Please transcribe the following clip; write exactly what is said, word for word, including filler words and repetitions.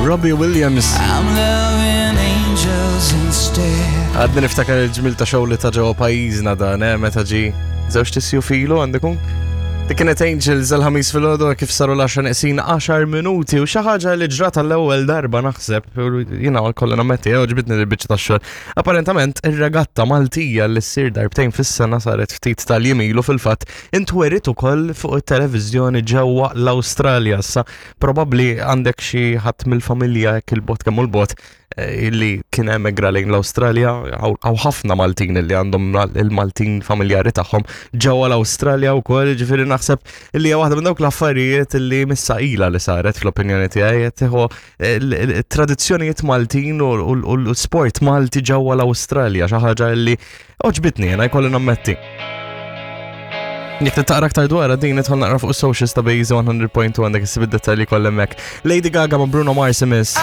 Robbie Williams. I'm loving angels instead. Għadni niftakar il-ġmil ta' show li ta ġewwa pajjiżna dan, eh, meta ġi żewġ tisju filu għandikum? Dik kienet Angels il-Ħamis filgħodu kif saru l-għaxra neqsin għaxar minuti u xi ħaġa li ġrat l-ewwel darba naħseb, jiena kollha nammetti, ġbidni l-biċċa tax-xogħol. Apparentament ir-regatta Maltija li ssir darbtejn fis-sena saret ftit tal-jiem ilu fil-fatt intwerit ukoll fuq it-televiżjoni ġewwa l-Awstralja. Issa probabbli għandek xi ħadd mill-familja hekk il-bogħod kemm hu l-bogħod eh, illi kien emigra lejn l-Awstralja, hawn ħafna Maltin illi għandhom il-Maltin familjari tagħhom ġewwa l-Awstralja wkoll, ġifieri naħseb illi hija waħda minn dawk l-affarijiet illi missa ilha li saret fl-opinjoni tiegħi qed tieħu tradizzjonijiet Maltin u l-sport Malti ġewwa l-Awstralja, xi ħaġa illi għoġbitni jiena jkolli nammetti. Jekk taqra aktar dwar din idħol naqra fuq socials ta' Base one hundred point two, għandek issib id-dettalji kollha hemmhekk. Lady Gaga ma' Bruno Mars imiss.